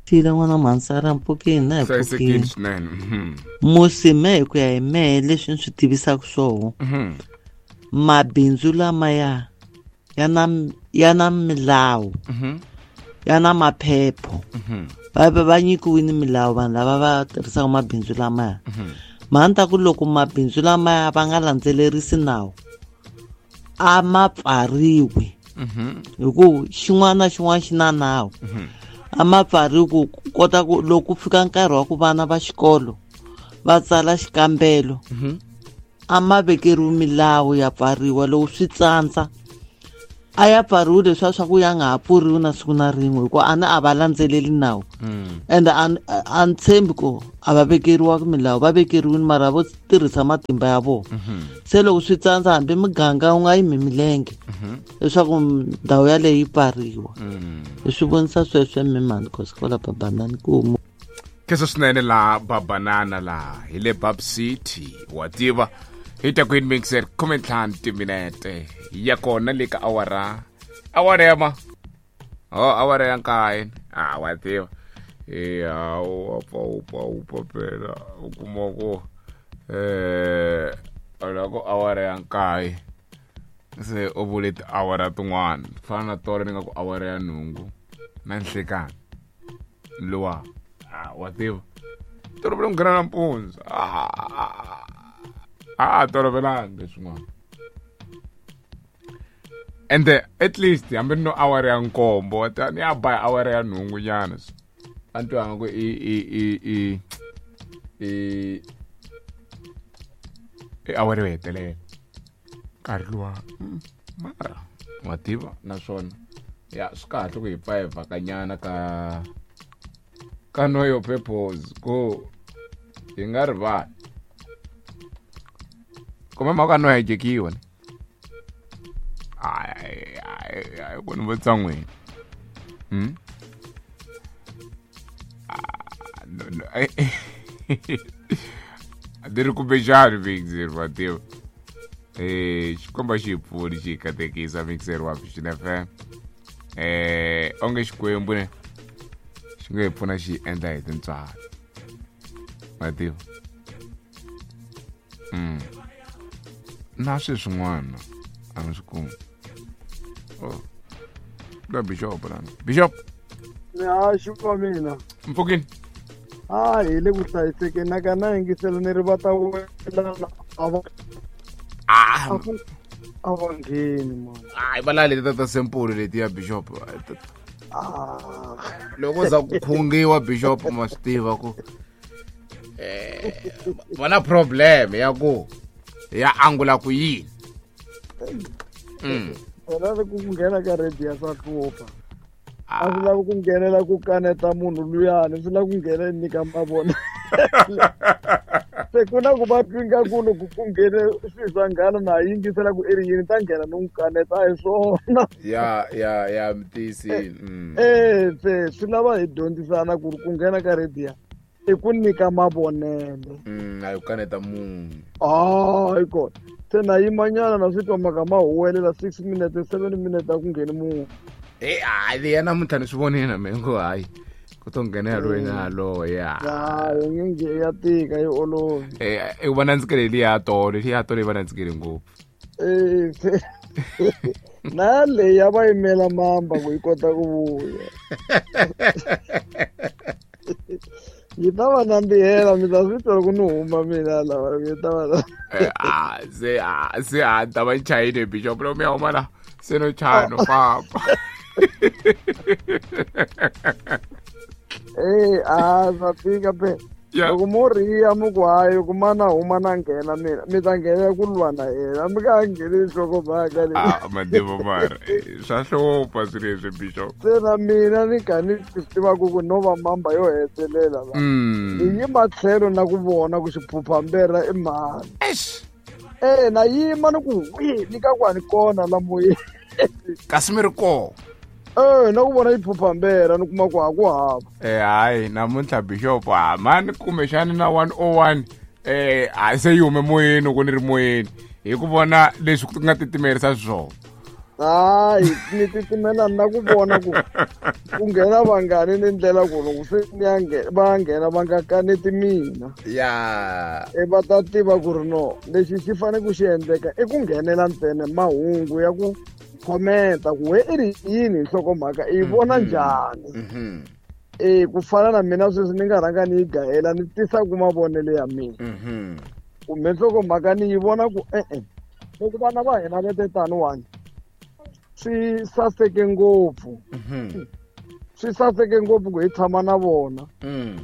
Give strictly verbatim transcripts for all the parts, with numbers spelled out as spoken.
Tile n'wana mhansara mpfukeni na hi hlayisekile pfukini swinene. Mhm. Musi me hi ku ya hi mehe leswi ni swi tivisaka swoho Mhm. mabindzu lamaya ya na ya na milawu Mhm. ya na maphepho Mhm. va va va nyikiwile milawu vanhu lava va tirhisaka mabindzu lamaya Mhm. mhani ta ku loko mabindzu lamaya va nga landzelerisi nawu a ma pfariwi Mhm. hi ku xin'wana na xin'wana xi na nawu Mhm. a ma pfariwi ku kota ku loko ku fika nkarhi wa ku vana va xikolo va tsala xikambelo Mhm. a ma vekeriwi milawu ya pfariwa loko swi tsandza a ya pfariwi leswiya swa ku ya nga ha pfuriwi na siku na rin'we hikuva a ni a va landzeleli nawu Mm. ende a ni- a ni tshembi ku a va vekeriwaka milawu va vekeriwile mara vo tirhisa matimba ya vona Mhm. se loko swi tsandza hambi muganga wu nga yimi milenge Mhm. leswaku ndhawu yaleyo yi pfariwa Mm. hi swi vonisa sweswo mimani kosikola babanani ku Kheso swinene laha babanana laha hi le Bab City wa tiva hi ta ku mixer khume ntlhanu timinete ya kona le ka awara awara ya ma oh awara ya nkaye ah wa tiva e hawu pa upa upa phela u kuma ku eh loko awara ya nkaye se u vule tiawara tin'wana ku fana na tolo ni nga ku awara ya nhungu na nhlekani luwa ah wa tiva tolovele ku nghena nampundzu ah a tolovelangi leswin'wana ende at least hambi ni no awara ya nkombo wa tiva ni ya ba hi awara ya nhungu nyana a ni twanga ku i i i i i i awara yo hetelela nkarhi luwa mm, mara wa tiva naswona ya swi kahle ku hi pfa hi vhakanyana ka ka know your purpose ku hi nga rivali kumbe mhaka no hejekiwa ne hayi hayi hayi ku ni vutisa n'wina hmm? Ah, no, no. A ni ri kumbexani mixer wa tiva eh xikomba xi hi pfuni xi hi katekisa mixer wa Vision F M eh onge xikwembu ne xi nga hi pfuna xi hi endla hi tintswalo wa tiva mm. na sweswin'wana a mi swi kumi oh la bishop lana bishop Haxi wa mina mpfukini a hi le ku hlayisekeni na ka na yingisela ni ri va ta welana a va ah a va- a va ngheni mani hayi va la leti ta ta sempulu leti ya bishop Ah, loko za ku khungiwa bishop ma swi tiva ku eh va na problem ya ku ya angula ku yini mm. phela ri ku nghena ka radio swa hlupha a swi lavi ku nghenela ku kaneta munhu luyani swi lava ku nghena nyika mavona se ku na ku va twi nga ku loko ku nghene swilo swa nghana na ha yingisela ku i ri yini ta nghena ni n'wi kaneta a hi swona ya ya ya mi tiyisile mm. Eh se swi lava hi dyondzisana ku ri ku nghena ka radio i ku nyika mavonelo Mm, a yi ku kaneta munhu hayi kona se na yimanyana na swi twa mhaka ma huwelela six minutes seven minutes a ku ngheni munhu e hayi leya namuntlha ni swi vonile na mina ngo hayi ku to nghenela loyi na yaloye ya hayi nge nge ya tika yi olovi Eh, i va nandzikele liya tolo liya tolo yi va nandzikele ngopfu Eh, se na leyi ya va yimela mamba ku yi kota ku vuya yi ta va nandzihela mi ta swi twa loko ni huma mina lava yi ta va Eh, ah, se ah, se a ni ta va chayile bishop loko mi ya huma la se no chaya no famba Eh, a swa tika phela Ya. loko mo riya mi ku hayi loko mana huma na nghena mina mi ta nghenela ku lwa na yena mi nga ha ngheneli nhlokomhaka leyi ah madivo mara eh, swa hlupha swilo leswi bishop se na mina ni kha ni swi tivaku ku no va mamba yo hetelela la Mm. ni yima tlhelo na ku vona ku xiphuphamberha i mhani Eish, e na yima ni ku wi ni ka ku a ni kona la moyeni kasi mi ri koho e na ku vona xiphuphamberha ni kuma ku ha ku hava eh hayi namuntlha bishop ha mani kumbexani na one oh one eh a se yi hume moyeni loko ni ri moyeni hi ku vona leswi ku nga titimerisa swona Hayi ni titimela na ku vona ku ku nghena vangani ni ndlela ku loko se ni ya nghena va nghena va nga kaneti mina. Ya. E va ta tiva ku ri no lexi xi fanele ku xi endleka i ku nghenela ntsena mahungu ya ku khomenta ku we i ri yini hi nhlokomhaka i yi vona njhani. Mhm. E ku fana na mina sweswi ni nga rhanga ni yi gahela ni tisa ku mavonelo ya mina. Mhm. Kumbe nhlokomhaka ni yi vona ku e-e loko vana va hina va te taniwani swi saseke ngopfu. Mhm. Swi saseke ngopfu ku hi tshama na vona. Mm.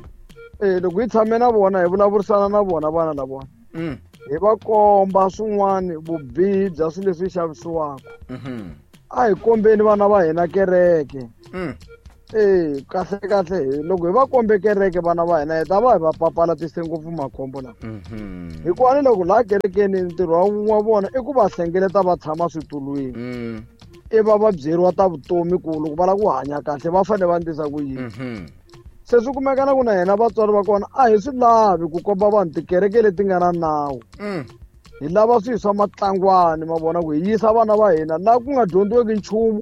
E loko hi tshame na vona hi vulavurisana na vona vana lavona. Mm. Hi va komba swin'wana vubihi bya swilo leswi xavisiwaka. Mhm. A hi kombeni vana va hina kereke. Mm. E kahle kahle loko hi va kombe kereke vana va hina hi ta va hi va papalatise ngopfu makhombo lawa. Mhm. Hikuva ni loko laha kerekeni ntirho wa vona i ku va hlengeleta va tshama switulwini. Mm. I va va byeriwa ta vutomi ku loko va lava ku hanya kahle va fanele va endlisa ku yini. Mhm. Se swi kumeka na ku na hina vatswari va kona a hi swi lavi ku komba vanhu tikereke leti nga na nawu. Mm. Hi lava swilo swa matlangwani ma vona ku hi yisa vana va hina laha ku nga dyondziweki nchumu.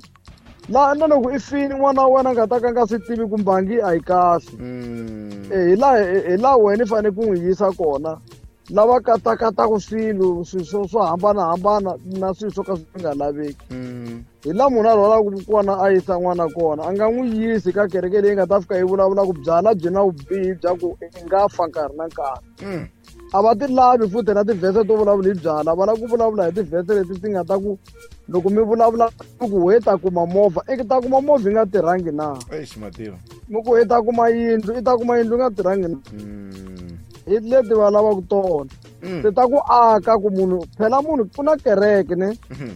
Laha na loko i fini n'wana wa wena a nga ta ka a nga swi tivi ku mbangi a yi kahle. Mm. E hi laha hi laha wena i fanele ku n'wi yisa kona. Lava katakataka swilo swilo swo swo hambanahambana na swilo swo ka swi nga laveki. Mm. Hi laha munhu a rhwalaka kona a yisa n'wana kona a nga n'wi yisi ka kereke leyi nga ta fika yi vulavula ku byala byi na vubihi bya ku i nga fa nkarhi na nkarhi. Mm. A va ti lavi futhi na tivhese to vulavula hi byala, va lava ku vulavula hi tivhese leti ti nga ta ku loko mi vulavula ku we ta kuma movha i ta kuma movha yi nga tirhangi na. Eish mativa. Mi ku i ta kuma yindlu i ta kuma yindlu yi nga tirhangi na. Mm. Hi leti va lavaka tona. Mm. Ti ta ku aka ku munhu phela munhu ku na kereke ne. Mhm.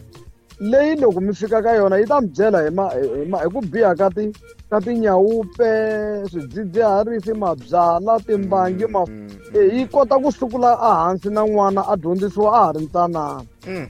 Leyi loko mi fika ka yona yi ta mi byela hi ma, hi ma, hi ku biha ka ti, ka tinyawupe, swidzidziharisi, mabyala, timbangi, ma, Mm, e, yi kota ku sukula ehansi na n'wana a dyondzisiwa a ha ri ntsanana. Mm.